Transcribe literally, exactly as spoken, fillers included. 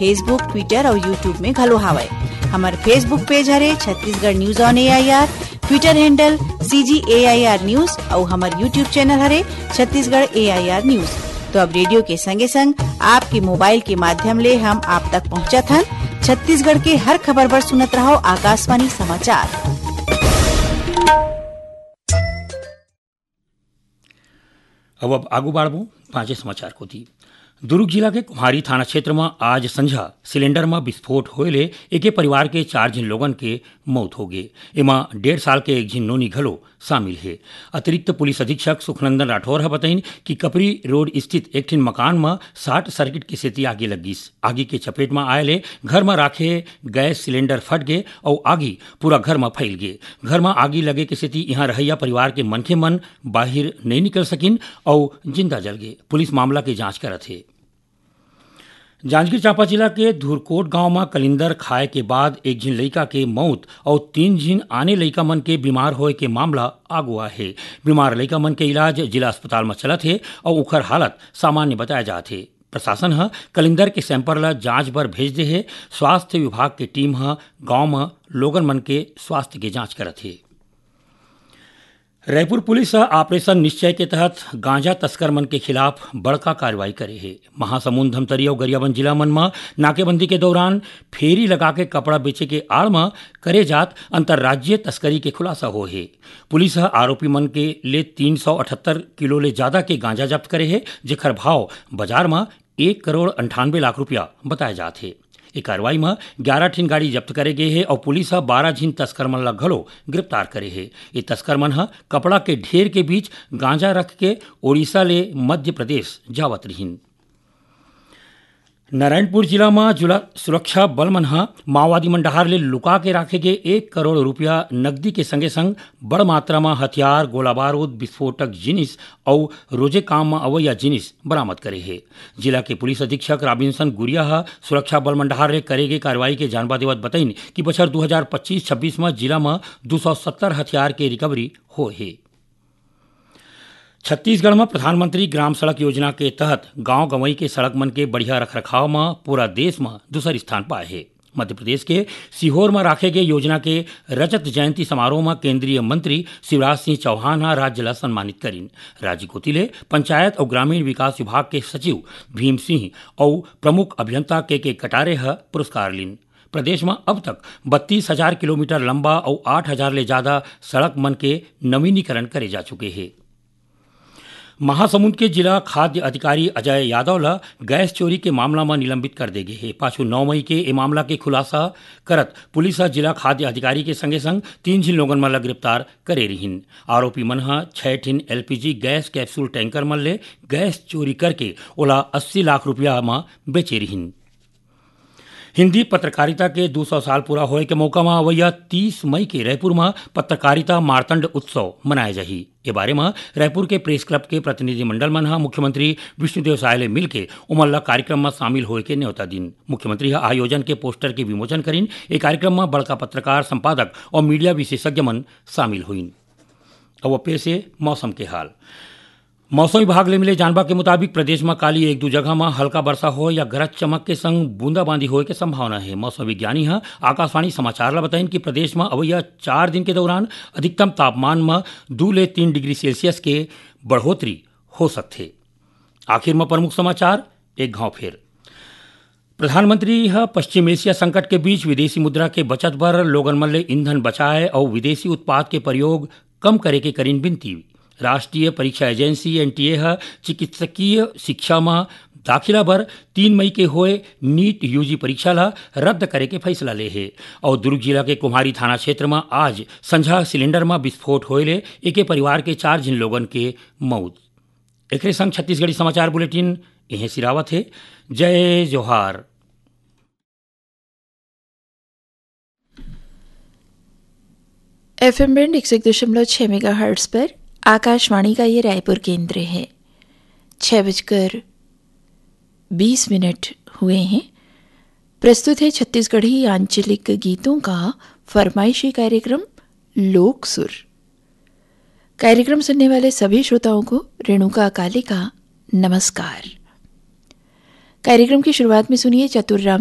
Facebook, Twitter और YouTube में घलो हावय। हमर Facebook page हरे Chhattisgarh news on A I R, Twitter handle C G A I R news और हमर YouTube channel हरे Chhattisgarh A I R news। तो अब रेडियो के संगे संग आपके मोबाइल के माध्यम ले हम आप तक पहुंचत हन। छत्तीसगढ़ के हर खबर बर सुनत रहो आकाशवाणी समाचार। अब, अब आगू बाढ़बो पांचे समाचार कोती। दुर्ग जिला के कुम्हारी थाना क्षेत्र म आज संझा सिलेंडर म विस्फोट होए ले एके परिवार के चार झिन लोगन के मौत हो गे। एमा डेढ़ साल के एक झिन नोनी घलो शामिल हे। अतिरिक्त पुलिस अधीक्षक सुखनंदन राठौर ह बतइन कि कपरी रोड स्थित एक ठिन मकान म शॉर्ट सर्किट के सेती आगी लग गिस। आगी के चपेट म आए ले घर म राखे गैस सिलेंडर फट गे अउ आगी पूरा घर म फैल गे। घर म आगी लगे के सेती इहां रहइया परिवार के मनखे मन बाहिर नइ निकल सकिन अउ जिंदा जल गे। पुलिस मामला के जांच करत हे। जांजगीर चांपा जिला के धुरकोट गांव म कलिंदर खाए के बाद एक झिन लइका के मौत अउ तीन झिन आने लइका मन के बीमार होए के मामला आगू आए हे। बीमार लइका मन के इलाज जिला अस्पताल म चलत हे अउ उखर हालत सामान्य बताए जात हे। प्रशासन ह कलिंदर के सैंपल ल जांच बर भेज दे हे। स्वास्थ्य विभाग के टीम ह गांव म लोगन मन के स्वास्थ्य के जांच करत हे। रायपुर पुलिस ह ऑपरेशन निश्चय के तहत गांजा तस्कर मन के खिलाफ बड़का कार्रवाई करे हे। महासमुंद, धमतरी अउ गरियाबंद जिला मन म नाकेबंदी के दौरान फेरी लगा के कपड़ा बेचे के आड़ म करे जात अंतर्राज्यीय तस्करी के खुलासा होए हे। पुलिस ह आरोपी मन के ले तीन सौ अठहत्तर किलो ले जादा के गांजा जब्त करे हे, जेखर भाव बाजार म एक करोड़ अंठानवे लाख रुपया बताए जात हे। ए कार्रवाई म ग्यारह ठिन गाड़ी जब्त करे गे हे अउ पुलिस ह बारह झिन तस्कर मन ल घलो गिरफ्तार करे हे। ये तस्कर मन ह कपड़ा के ढेर के बीच गांजा रख के ओडिशा ले मध्य प्रदेश जावत रिहिन। नारायणपुर जिला म जुला सुरक्षा बल मन ह माओवादी मन डहार ले लुका के राखे गे एक करोड़ रुपया नकदी के संगे संग बड़ मात्रा म हथियार, गोला बारूद, विस्फोटक जिनिस अउ रोजे काम म अवइया जिनिस बरामद करे हे। जिला के पुलिस अधीक्षक राबिन्सन गुरिया ह सुरक्षा बल मन डहार ले करे गे कार्रवाई के जानबा देवत बतइन कि बछर दू हजार पच्चीस छब्बीस म जिला म दू सौ सत्तर हथियार के रिकवरी होए हे। छत्तीसगढ़ म प्रधानमंत्री ग्राम सड़क योजना के तहत गांव गंवई के सड़क मन के बढ़िया रखरखाव म पूरा देश म दूसर स्थान पाए हे। मध्य प्रदेश के सीहोर म राखे गे योजना के रजत जयंती समारोह म केंद्रीय मंत्री शिवराज सिंह चौहान ह राज्य ल सम्मानित करिन। राज्य कोति ले पंचायत अउ ग्रामीण विकास विभाग के सचिव भीम सिंह अउ प्रमुख अभियंता के के कटारे ह पुरस्कार लिन। प्रदेश म अब तक बत्तीस हजार किलोमीटर लंबा अउ आठ हजार ले जादा सड़क मन के नवीनीकरण करे जा चुके हे। महासमुंद के जिला खाद्य अधिकारी अजय यादव ल गैस चोरी के मामला म निलंबित कर दे गे हे। पाछू नौ मई के ए मामला के खुलासा करत पुलिस ह जिला खाद्य अधिकारी के संगे संग तीन झिन लोगन मन ल गिरफ्तार करे रिहिन। आरोपी मन ह छह ठिन L P G gas capsule tanker मन ले गैस चोरी करके ओला अस्सी लाख रुपया म बेचे रिहिन। हिंदी पत्रकारिता के दू सौ साल पूरा होए के मौका म अवइया तीस मई के रायपुर म पत्रकारिता मार्तंड उत्सव मनाए जाही। ए बारे म रायपुर के प्रेस क्लब के प्रतिनिधिमंडल मन ह मुख्यमंत्री विष्णुदेव साय ले मिलके ओमन ल कार्यक्रम म शामिल होए के न्योता दिन। मुख्यमंत्री ह आयोजन के पोस्टर के विमोचन करिन। ए कार्यक्रम म बड़का पत्रकार, संपादक अउ मीडिया विशेषज्ञ मन शामिल होइन। अब पेश हे मौसम के हाल। मौसम विभाग ले मिले जानबा के मुताबिक प्रदेश म काली एक दू जगह म हल्का बरसा होए या गरज चमक के संग बूंदाबांदी होए के संभावना हे। मौसम विज्ञानी ह आकाशवाणी समाचार ल बताइन कि प्रदेश म अवइया चार दिन के दौरान अधिकतम तापमान म दू ले तीन डिग्री सेल्सियस के बढ़ोतरी हो सकथे। आखिर म प्रमुख समाचार एक घाव फेर। प्रधानमंत्री ह पश्चिम एशिया संकट के बीच विदेशी मुद्रा के बचत बर लोगन मन ले ईंधन बचाए अउ विदेशी उत्पाद के प्रयोग कम करे के करिन विनती। राष्ट्रीय परीक्षा एजेंसी, N T A, ह चिकित्सकीय शिक्षा म दाखिला बर तीन मई के होए नीट U G परीक्षा ल रद्द करे के फैसला ले हे। अउ दुर्ग जिला के कुम्हारी थाना क्षेत्र म आज संझा सिलेंडर म विस्फोट होए ले एके परिवार के चार झिन लोगन के मउत। एकरे संग छत्तीसगढ़ी समाचार बुलेटिन इहें सिरावत हे। जय जोहार। F M band एक सौ एक दशमलव छह megahertz पर आकाशवाणी का ये रायपुर केंद्र है। छह बजकर बीस मिनट हुए हैं। प्रस्तुत है छत्तीसगढ़ी आंचलिक गीतों का फरमाइशी कार्यक्रम लोक सुर। कार्यक्रम सुनने वाले सभी श्रोताओं को रेणुका काले का नमस्कार। कार्यक्रम की शुरुआत में सुनिए चतुर राम